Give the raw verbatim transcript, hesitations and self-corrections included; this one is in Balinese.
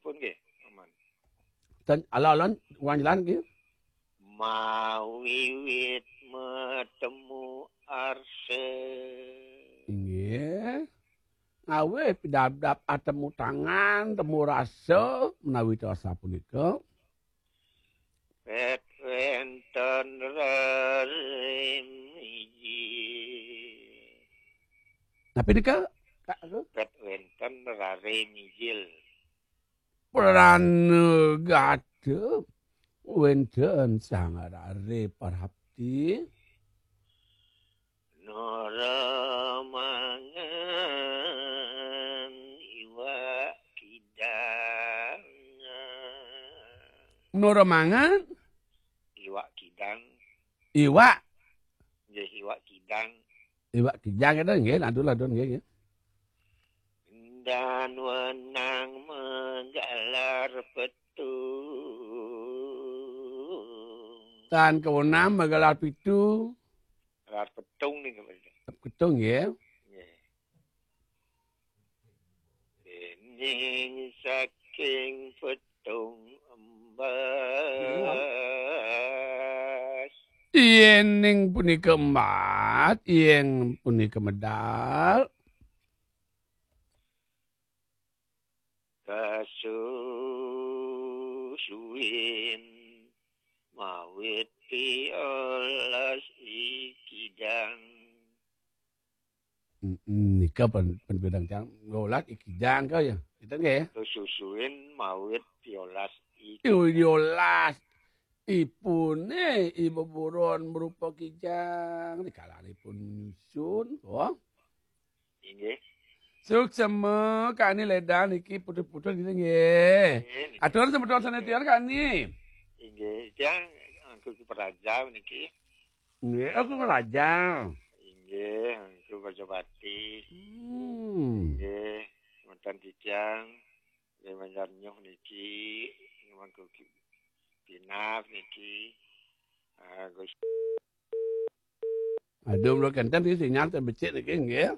Pun nggih, aman. Dan alon-alon, ulang jalan nggih. Mawiwit metemu arse. Inggih. Awit pidabdab atemu tangan, temu rasa, menawi tiyang sapunika. Pet wenten rare mijil. Napi nika, Kak? Pet wenten rare mijil. Pranagata wenten sang rare prapti. Nora mangan iwak kidang. Nora mangan? Iwak kidang. Iwak? Nggih, iwak kidang. Iwak kidang itu nggih, ladon-ladon nggih, nggih. Dan wenang menggalar petung. Tan kawenang menggalar pitu. Gelar petung nih, Pak. Petung, ya. Nggih. Dening saking petung embas. Yening punika embas, yen punika medal. Kasusuin mawit piolas ikidang. Mm, nika pen, pen bidang cang, ngolah ikidang kau ya. Kita nggih ya. Kasusuin mawit piolas ikidang. Piolas. Ipune ibu buron merupa kijang, dikalanipun nyusun, oh. Inggih. Suksema kani ledang niki putus-putus gitu nggih. Nggih, niki. Atur semeton sanetian kani. Inggih, tiang angku ki peraja niki. Nggih, aku peraja. Inggih, angku Prajapati. Hmm. Nggih, mantan titiang, nggih mantan nyuh niki, angku ki pinap niki. Ah, Gus. Aduh, mula kenten iki sinyal ten becik niki nggih.